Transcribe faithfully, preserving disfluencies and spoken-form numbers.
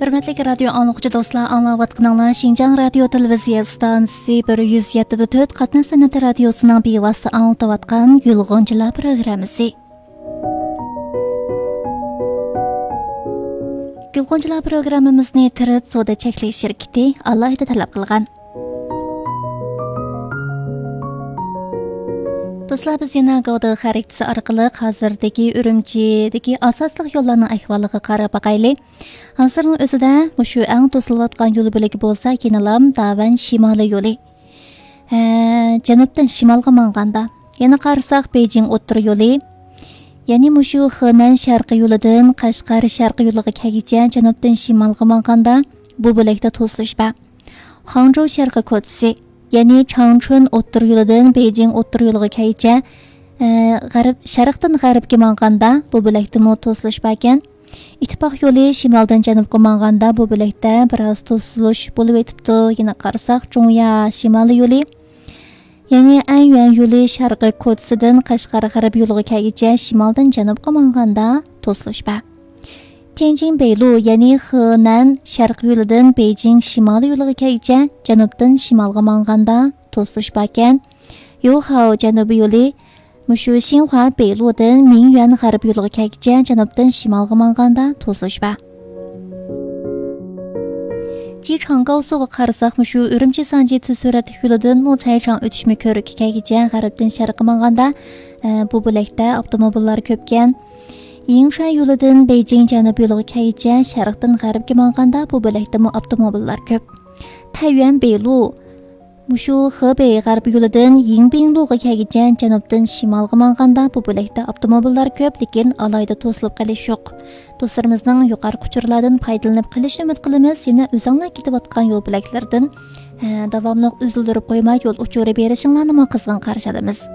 ھۆرمەتلىك رادىيو ئاڭلىغۇچى دوستلار، ئاڭلاۋاتقىنىڭلار شىنجاڭ رادىيو تېلېۋىزىيە ئىستانسىسى بىر يۈز يەتتە دە تۆت قاتناش سەنئىتى رادىيوسىنىڭ بىۋاسىتە ئاڭلىتىۋاتقان گۈلغۇنچىلار پروگراممىسى. گۈلغۇنچىلار پروگراممىمىزنى تىرىت سودا چەكلىك شىركىتى ئالاھىدە تەلەپ قىلغان. دوستلار، بىز يەنە گاۋدې خەرىتىسى ئارقىلىق ھازىردىكى ئۈرۈمچىدىكى ئاساسلىق يوللارنىڭ ئەھۋالىغا قاراپ باقايلى. ھازىرنىڭ ئۆزىدە مۇشۇ ئەڭ توسۇلۇۋاتقان يول بۆلىكى بولسا يەنىلا داۋەن شىمالىي يولى. ھە، جەنۇبتىن شىمالغا ماڭغاندا. يەنە قارىساق، بېيجىڭ ئوتتۇرا يولى. يەنى مۇشۇ خېنەن شەرقىي يولىدىن قەشقەر شەرقىي يولىغا كەلگۈچە جەنۇبتىن شىمالغا ماڭغاندا، بۇ بۆلەكتە توسۇلۇش بار. خاڭجۇ شەرقىي كوچىسى، يەنى چاڭچۈن ئوتتۇرا يولىدىن بېيجىڭ ئوتتۇرا يولىغا كەلگۈچە، ئە، غەرب، شەرقتىن غەربكە ماڭغاندا، بۇ بۆلەكتىمۇ توسۇلۇش باركەن. ئىتتىپاق يولى شىمالدىن جەنۇبقا ماڭغاندا، بۇ بۆلەكتە بىراز توسۇلۇش بولۇۋېتىپتۇ. يەنە قارىساق، جۇڭيا شىمالىي يولى، يەنى ئەنيۈەن يولى شەرقىي كوچىسىدىن قەشقەر غەرب يولىغا كەلگۈچە شىمالدىن جەنۇبقا ماڭغاندا توسۇلۇش بار. تيەنجىن بېيلۇ، يەنى خېنەن شەرقىي يولىدىن بېيجىڭ شىمالىي يولىغا كەلگۈچە جەنۇبتىن شىمالغا ماڭغاندا توسۇلۇش باركەن. يوخاۋ جەنۇبىي يولى مۇشۇ شىنخۇا بېيلۇدىن مىڭيۈەن غەرب يولىغا كەلگۈچە جەنۇبتىن شىمالغا ماڭغاندا توسۇلۇش بار. جىچاڭ گاۋسۇغا قارىساق، مۇشۇ ئۈرۈمچى سانجى تېز سۈرئەتلىك يولىدىن موسەيچاڭ ئۆتۈشمە كۆۋرۈككە كەلگۈچە غەربتىن شەرققە ماڭغاندا، ئە، بۇ بۆلەكتە ئاپتوموبىللار كۆپكەن. يىڭشۇەن يولىدىن بېيجىڭ جەنۇب يولىغا كەلگۈچە شەرقتىن غەربكە ماڭغاندا بۇ بۆلەكتىمۇ ئاپتوموبىللار كۆپ. تەييۈەن بېيلۇ، مۇشۇ خېبېي غەربىي يولىدىن يىڭبىڭلۇغا كەلگۈچە جەنۇبتىن شىمالغا ماڭغاندا بۇ بۆلەكتە ئاپتوموبىللار كۆپ، لېكىن ئالاھىدە توسۇلۇپ قېلىش يوق. دوستلىرىمىزنىڭ يۇقىرىقى ئۇچۇرلاردىن پايدىلىنىپ قېلىشىنى ئۈمىد قىلىمىز. يەنە ئۆزۈڭلار كېتىۋاتقان يول بۆلەكلىرىدىن، ھە، داۋاملىق ئۈزۈلدۈرۈپ قويماي يول ئۇچۇرى بېرىشىڭلارنىمۇ قىزغىن قارشى ئالىمىز.